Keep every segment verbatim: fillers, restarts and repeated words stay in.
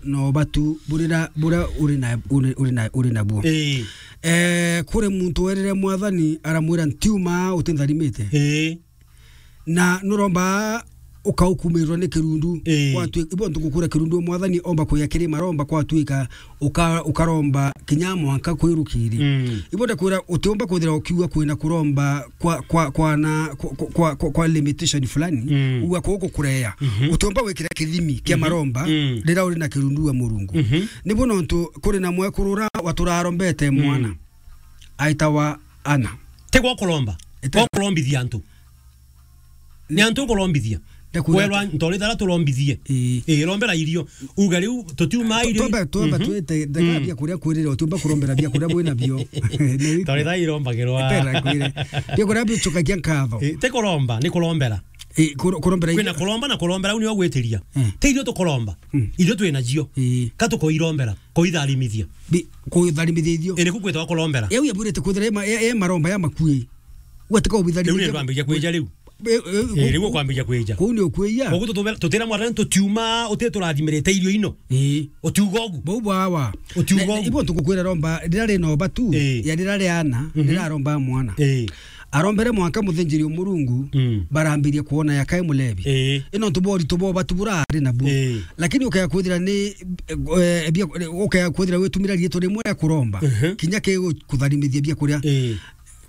na ubatu burira, buria uri na, uri, uri na, uri nabuo. Ii. Eh, kuri muntu werire Mwathani, aramwira, "Ntiuma utintharimite." Ii. Na nuromba ukaukumirirwa ni kirundu. Ii. Kwatwi-, ibo ntukukura kirundu, Mwathani omba kuya kiri maromba, kwatwika uka-, ukaromba kinya mwanka kwirukiri. Mm. Ibo ndakwira utiumba kwithira ukiuga kwina kuromba kwa, kwa, kwa na, kwa, kwa, kwa, kwa limitation fulani. Mm. Uga kuku kureya. Mhm. Utiumba gwikira kithimi kia Mhm. maromba Mm. rira uri na kirundu wa Murungu. Mhm. Nibo nontu kuri na mwekuru ura waturarombete Mm. mwana. Aitawa Ana. Ti gwa kuromba. Ite- Gwa kurombithia antu. Ni antu ukurombithia. Ndakwira Kwerwa ati- ntori thara turombithie. Ii. Ii, rombera irio. Uga riu tutiuma irio. Twamba, twamba Mhm. twite, ndeka Mm. bia kuria kwirire, utiumba kurombera bia kuria bwina bio. Ni Ntori thara irombagirwa. Tera kwire. Bia kuria bichukagia nkatho. Ii, ti kuromba, ni kurombera. Ii, kuro-, kurombera Kwina irio. kuromba na kurombera, u nio gwitiria. Mm. Ti irio tukuromba. Mm. Irio twina cio. Ii. Ka tukoirombera, koitharimithia. Bi-, koitharimithia irio. Ii, niku kwitwa kurombera. Yau yabwirite kwithira e ma-, e, e maromba ya makui. Gwatika ubitharimithia. Riu ni twambiria kwija riu. E, e, Ii, riu ukwambiria kwija. Kuu ni ukwija. Koguo tutubera-, tutira Mwathani tutiuma, uti turathimirite irio ino. Ii. Utiuga ugu. Bau bwawa. Utiuga Na, ugu. ibo ntukukwira romba, rira rina ubatu, Ii. ya rira riana, Mhm. rira aromba mwana. Ii. Arombere mwanka muthinjiri Murungu, Mm. barambirie kuona yakae mulebi. Ii. Ino ntu boritu bo batu burari nabu. Ii. Lakini ukaya kwithira ni, eh, bia, ukaya kwithira witumira riitwa rimwe ria kuromba. Mhm. Kinya ke kutharimithia bia kuria. Ii.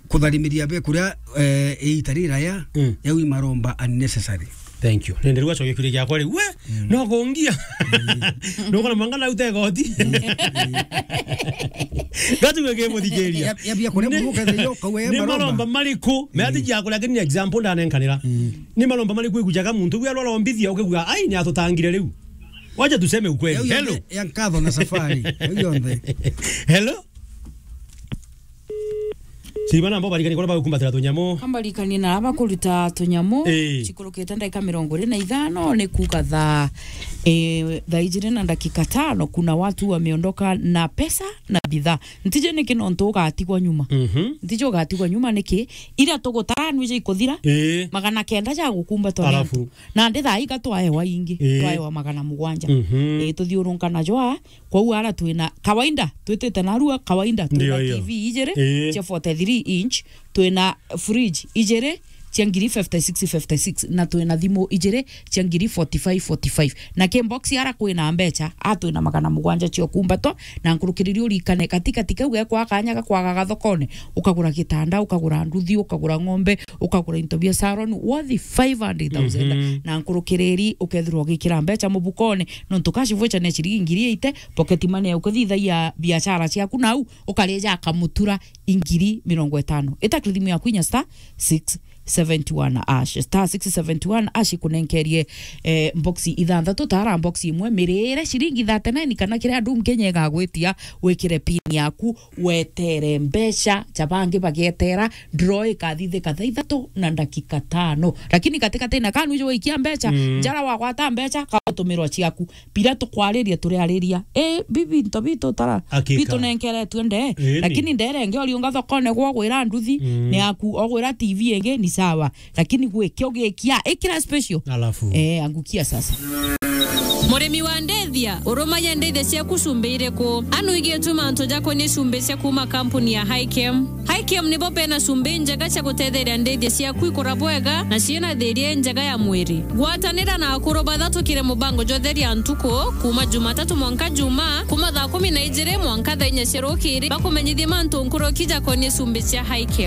Kutharimiria bia kuria, eh, iita riraya, Mm. yau i maromba unnecessary. Thank you. Nende rua cokia kiuria giakwa riu. We, Mm. no kungia. Mm. No kana manga na ute goti. Mm. Gatu gwe muthikiria. Ya, ya bia kuria Ni- muruka the yo, kawe ni maromba. Maromba mariku? Me ati Mm. ya kuria kini example ndanenkanira. Mm. Ni maromba mariku igujaga muntu gwe arorombithia ukigua, "Ai, ni atutangire riu." Wacha tuseme ukweli. Yau Hello. yonthe ya nkatho na safari. Yau yonthe. Hello? Siriba nabo barikani kora bagukumbatira tunyamu. Ambarikani na aba kuruta tunyamu. Ii. Cikurukite ndagika mirongo iri na ithano ni kuuga thaa, eh, thaa ijiri na dakika tano, kuna watu wameondoka na pesa na bidhaa. Ntije niki nontu ugatigwa nyuma. Mhm. Ntije ugatigwa nyuma niki? Ira tugutara nwi ja ikuthira, Ii. magana kenda ja gukumbatwa ni Alafu. antu. Na ndi thaa iga twaewa ingi, Ii. twaewa magana mugwanja. Mhm. Ii, tuthiurunkana jwa, kwou ara twina kawaida, twitite narua kawaida, twina Ndio, ndio. T V ijiri Ii. cia forty-three inch, twina fridge ijiri cia ngiri fifty-six fifty-six, na twina thimu ijiri cia ngiri forty-five forty-five. Na ki box ara kwina mbecha, a twina magana mugwanja cia kumbatwa, na nkurukiriri urikane, katikati kau gekwa kanya ga kwagaga thokone, ukagura gitanda, ukagura nduthi, ukagura ng'ombe, ukagura into bia salon worth five hundred thousand. Mhm. Na nkurukiriri ukethirwa ugikira mbecha mubukone, nontu cash voucher ne ciringi ngiri eighty, pocket money ya ukithithagia biashara ciaku nau, ukarija akamutura ingiri mirongo itano. Ita kiri thimu yaku inya star six seventy one hash. Star six seventy one hash ikunenkerie, eh, box ithanthatu, tara box imwe, mirire ciringi thirty-nine kana kiria andu Kenya igagwitia, wikire pin yaku, wetere mbecha, ja bangi bagetera, draw ikathithika thaa ithatu na ndakika tano. Lakini katikati na kanu ijo waikia mbecha, Mm. njara wagwata mbecha, kautumirwa ciaku. Pira tukwariria, turiariria. Eh, bibi, nto bitu tara. Hakika. Bitu nenkere twende. Ĩni. Lakini ndere nge ori unga thokone gwa gwira nduthi, Mm. ni aku, ogwira T V ingi, ni sawa. Lakini gwikio gikia, ikira special. Alafu. Eh, angukia sasa. Murimi wa ndethia, urumagia ndethia ciaku cumbi iriku? Anu igituma antu jakonie cumbi cia kuma kampuni ya Highchem. Highchem nibo bena cumbi njega cia gutetheria ndethia ciaku ikura bwega na ciina thiria njega ya mwiri. Gwatanira na akuru bathatukire mubango jwa Theria Ntuku, kuma Jumatatu mwanka Juma, kuma thaa kumi na ijiri mwanka thaa inya cia rukiri, bakumenyithie mantu nkuruki jakonie cumbi cia Highchem.